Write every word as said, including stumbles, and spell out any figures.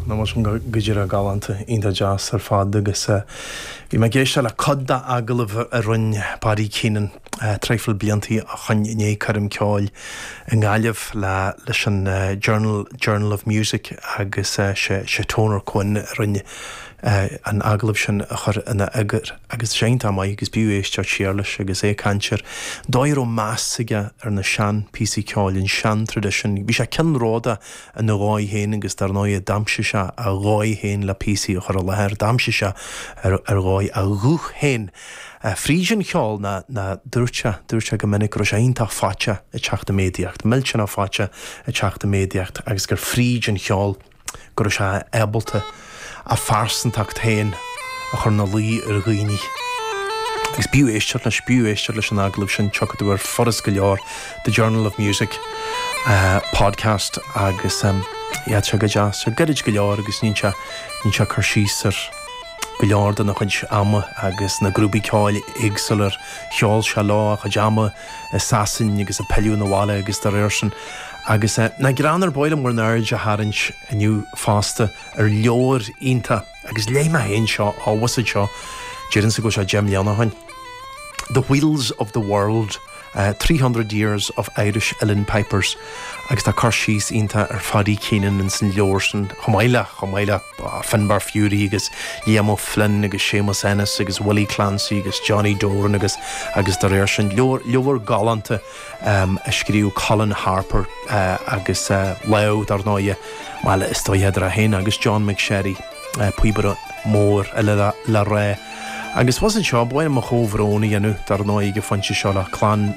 Ná mar sin go díreach galánta iontach deas ar fad agus bhí mé ag éisteacht le cuid dá agallamh a rinne Paddy Keenan traidhfil bliantaí ó shoin i ndiaidh coirm ceoil i nGaillimh le leis an Journal Journal of Music agus sé sé Toner Quinn a rinne an agallamh sin a chur ina eagar agus sé iontach maith agus b'fhiú éisteacht siar leis agus é ag caint ar dóigh a raibh meas aige ar na sean píosaí ceoil an sean tradition. Bhí sé ceannródaíoch ina dhóigh féin agus dar ndóigh d'aimsigh sé a dhóigh féin le píosaí a chur i láthair, d'aimsigh sé ar ar dhóigh a ghuth féin. Fríd an cheol ná ná dúirt sé dúirt sé go minic go raibh sé iontach faitíoch ag teacht i méadaíocht, millteanach faitíoch ag teacht i méadaíocht agus gur fríd an cheol go raibh sé ábalta a phearsantacht féin a chur ina luí ar dhaoine. Agus b'fhiú éisteacht leis b'fhiú éisteacht leis an agallamh sin tiocfaidh tú ar furas go leor The Journal of Music uh, podcast agus um, yeah, sé go deas sé gairid go leor agus ní sé ní sé cur síos ar go leor den a chuid ama agus na grúpaí ceoil éagsúla ar cheol sé leo a chuid ama i Sasain agus a pilleadh na bhaile agus dá réir sin. Agus uh, na grean ar bhile mór náird a tharraingt inniu fosta ar leabhar iontach agus léigh mé féin seo ábhasad seo déarfainn go sé deich mbliana ó shoin. The Wheels of the World, uh, three hundred years of Irish Uilleann Pipers agus tá cur síos iontach ar Phaddy Keenan in san leabhar sin chomh maith le chomh maith le Finbar Furey agus Liam O'Flynn agus Séamus Ennis agus Willie Clancy agus Johnny Doran agus agus dá réir sin leabhar leabhar galánta um, a scríobh Colin Harper uh, agus uh, Leo dar ndóigh well is dóigh idir é féin agus John McSherry uh, píobaire mór eile le, le rá. Agus was seo buin mo chomhbhrón a dhéanamh dar ndóigh ag an phointe seo le clann